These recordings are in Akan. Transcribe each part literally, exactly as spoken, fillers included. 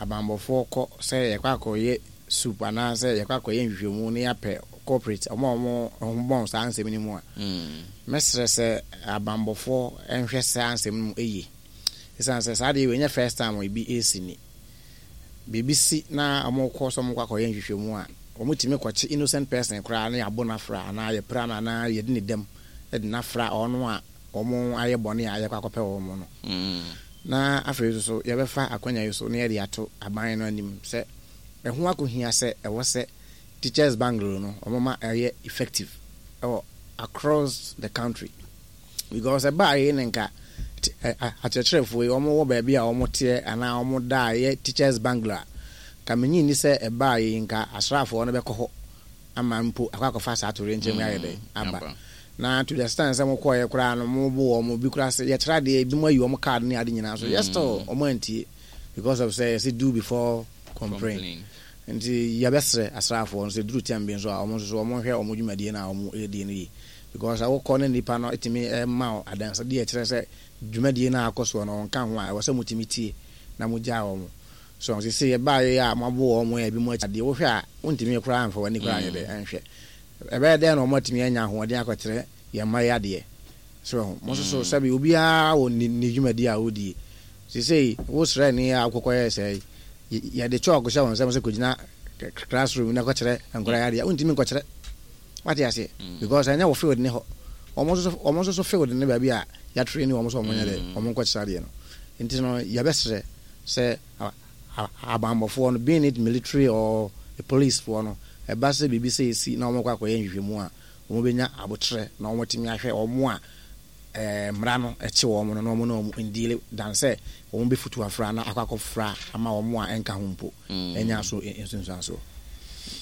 Abanbɔfoɔ kɔ sɛ yɛkɔ akɔyɛ swoop anaasɛ yɛkɔ akɔyɛ nhwehwɛmu na yɛapɛ culprit, ɔmo a ɔmo ho bɔn saa nsɛm no mu a, mɛsrɛ sɛ abanbɔfoɔ nhwɛ saa nsɛm no mu yie, ɛsiane sɛ saa deɛ wei nyɛ first time ebi esi ni. Biribi si na ɔmo kɔ sɛ ɔmo kɔ akɔyɛ nhwehwɛmu a, ɔmo tumi kɔkye innocent person koraa na yɛabɔ n'afra anaa yɛpira no anaa yɛde ne dɛm de n'afra ɔno a ɔmo ayɛ bɔne a yɛkɔ akɔpɛ wɔn no. Na afei nso so yɛbɛfa akonnwa yi so na yɛde ato aban no anim sɛ ɛho akɔhia sɛ ɛwɔ sɛ teachers bungalow no ɔmo ma ɛyɛ effective ɛwɔ across the country, because ɛbaa yi ne nka akyerɛkyerɛfoɔ yi ɔmo wɔ baabi a ɔmo teɛ anaa ɔmo da a ɛyɛ teachers bungalow a, ka menyi ni sɛ ɛbaa yi nka asraafoɔ no bɛkɔ hɔ ama mpo akɔ akɔfa saa atore nkyɛn mu ayɛ dɛ aba. Na to the extent sɛ mokɔɛ koraa no, mo bo wɔ mo bi koraa sɛ yɛkyerɛ adeɛ ebi mo ayi wɔn card ne ade nyinaa so, yɛ still ɔmo antie because of sɛ yɛsɛ do before complain. Nti yɛbɛsrɛ asraafoɔ no sɛ duru time bi nso a, ɔmo nso so ɔmo hwɛ ɔmo dwumadie no a ɔmo ɛredi no yie, because awokɔ ne nipa no ɛtumi ɛma wo adansedeɛ ɛkyerɛ sɛ dwumadie no a akɔ soɔ no ɔnka ho a, ɛwɔ sɛ motumi tie na mogyaa wɔn so. Sɛ yɛbaa yɛ a moabo wɔn a ebi mo akyi adeɛ, wohwɛ a wontumi koraa mfa w'ani koraa nyɛ dɛ ɛnhwɛ ɛbɛyɛ dɛn na wɔn atumi anya ahoɔden akɔkyerɛ yɛn mma yi adeɛ so. Mo nso so sɛbi obiara wɔ ne ne dwumadie a ɔdie. Sesei wo srɛ a wokɔkɔyɛ sɛ yɛde chalk hyɛ wɔn nsɛm sɛ kɔgyina classroom na kɔkyerɛ nkɔla yɛ adeɛ, wontumi nkɔkyerɛ, wate aseɛ, because ɛnyɛ wɔ field ne hɔ. Wɔn nso wɔn nso so field ne baabi a yɛatrain wɔn so wɔn nyɛ dɛ wɔn nkɔkyerɛ adeɛ no. Nti no yɛbɛsrɛ sɛ abanbɔfoɔ no, being it military or police foɔ no, ɛba sɛ biribi sɛ esi na wɔn kɔ akɔyɛ nhwehwɛmu a, wɔn bɛnya abotrɛ na wɔn atumi ahwɛ wɔn a ɛɛ mmara no ɛkye wɔn no na wɔn na wɔn ndeal dan sɛ wɔn bɛfutu afra na akɔ akɔfra ama wɔn a ɛnka ho mpo ɛnya so nsunsuansoɔ.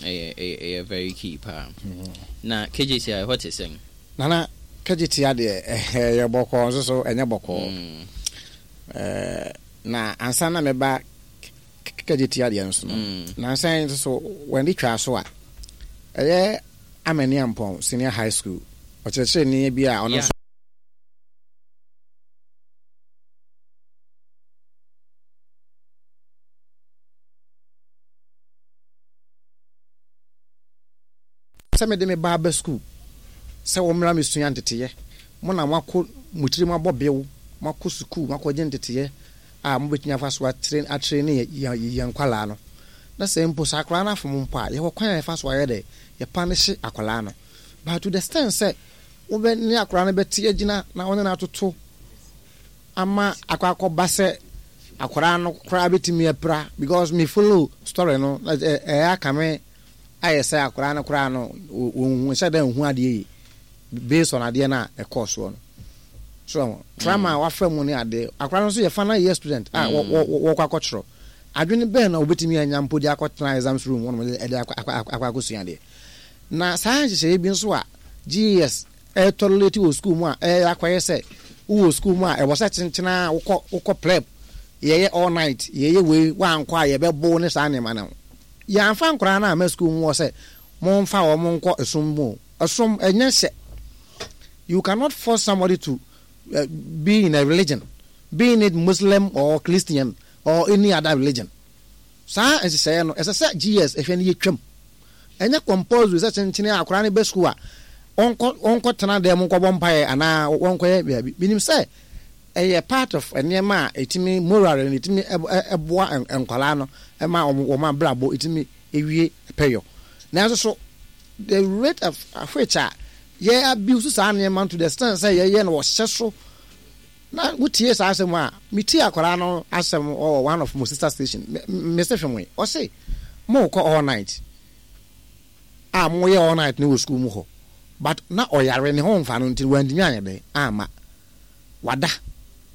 ɛyɛ ɛyɛ ɛyɛ very key paa. Na K G T I ɛhɔ te sɛn? Nana, K G T I deɛ, ɛyɛ bɔkɔɔ nso so ɛnyɛ bɔkɔɔ. ɛɛ na ansa na mɛba K G T I deɛ nso no, nansa yi nso so wɔn de twa so a ɛyɛ Amaniampɔn Senior High School ɔkyerɛkyerɛni bi a ɔno nso sɛ mede me ba aba school sɛ wɔmmra mesua nteteyɛ, mo na moakɔ mo tiri mo abɔ bew, moakɔ sukuu, moakɔgye nteteyɛ a mobɛtumi afa so atrain atrain ne yɛn nkwalaa no, na sɛ mpo sɛ akwaraa no afom mpo a, yɛwɔ kwan a yɛfa so ayɛ dɛ yɛpa ne hye akwaraa no. But to the extent sɛ wobɛ ne akwaraa no bɛte agyina na wɔne no atoto ama akɔ akɔba sɛ akwaraa no koraa bɛtumi apira, because me follow story no, ɛyɛ aka me ayɛ sɛ akwaraa no koraa no wɔnhu nhyɛ dɛ nhu adeɛ yi based on adeɛ no a ɛkɔɔ soɔ no so, trauma a wafa mu ne adeɛ. Akwaraa no nso yɛ final year student a wɔkɔ akɔtwerɛ, adwene bɛn na obɛtumi anya mpo de akɔtena exams room wɔn ɛde akɔ akɔ akɔsua adeɛ? Na saa nhyehyɛeɛ bi nso a G E S ɛtolerate wɔ school mu a ɛyɛ akɔyɛ sɛ wowɔ school mu a, ɛwɔ sɛ kyenkyena wokɔ wokɔ prep, yɛyɛ all night, yɛyɛ wei, wankɔ a yɛbɛbo ne saa nneɛma no. Yɛamfa nkoraa no ama school mu wɔ sɛ momfa wɔn nkɔ ɛsom mu. Ɛsom ɛnyɛ hyɛ. You cannot force somebody to uh, be in a religion, being it Muslim or Christian or any other religion. Saa nhyehyɛeɛ no, ɛsɛ sɛ G E S ɛhwɛ no yɛtwam. Ɛnyɛ compulsory sɛ kyenkyene a akwaraa no bɛ school a, ɔnkɔ ɔnkɔ tena dɛm nkɔbɔ mpaeɛ anaa wɔnkɔyɛ baabi. Menim sɛ ɛyɛ part of nneɛma a ɛtumi moral no, ɛtumi ɛboa nkwaraa no ɛma wɔn wɔn abrabɔ ɛtumi ewie pɛyɔ. Nanso so the rate of which a yɛ abuse saa nneɛma to the extent sɛ yɛyɛ no wɔhyɛ so na wotie saa asɛm a metie akwaraa no asɛm ɔwɔ one of mo sister station, mese hwɛ mo yi, ɔse mo kɔ all night a, moyɛ all night ne wɔ school mu hɔ, but na ɔyare ne ho mfa no nti wantumi anyɛ dɛ ama wada,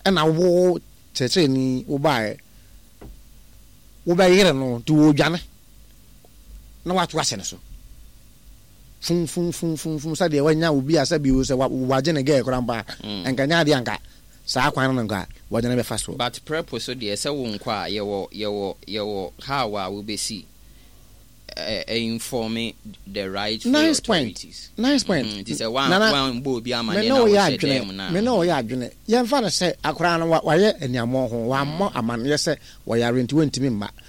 ɛna wo kyerɛkyerɛni wobaeɛ wobɛyere no nti wɔdwane na wato ahyɛ ne so fumfumfumfum sɛdeɛ wanya obi a sɛbi sɛ wagye ne gɛɛ koraa mpa a, nka nyɛ adeɛ anka saa kwan no nka wɔde no bɛfa so. But prep so deɛ, sɛ wo nkɔ a, yɛwɔ yɛwɔ yɛwɔ how a wobɛsi uh, inform the right Nice authorities. Point, nice point. Nti sɛ wan wan bɔ obi amaneɛ na wɔhyɛ dɛm na me ne ɔyɛ adwene, yɛmfa no sɛ akwaraa no wayɛ aniammɔ ho, wammɔ amanneɛ sɛ wɔyare nti wɔntumi mma.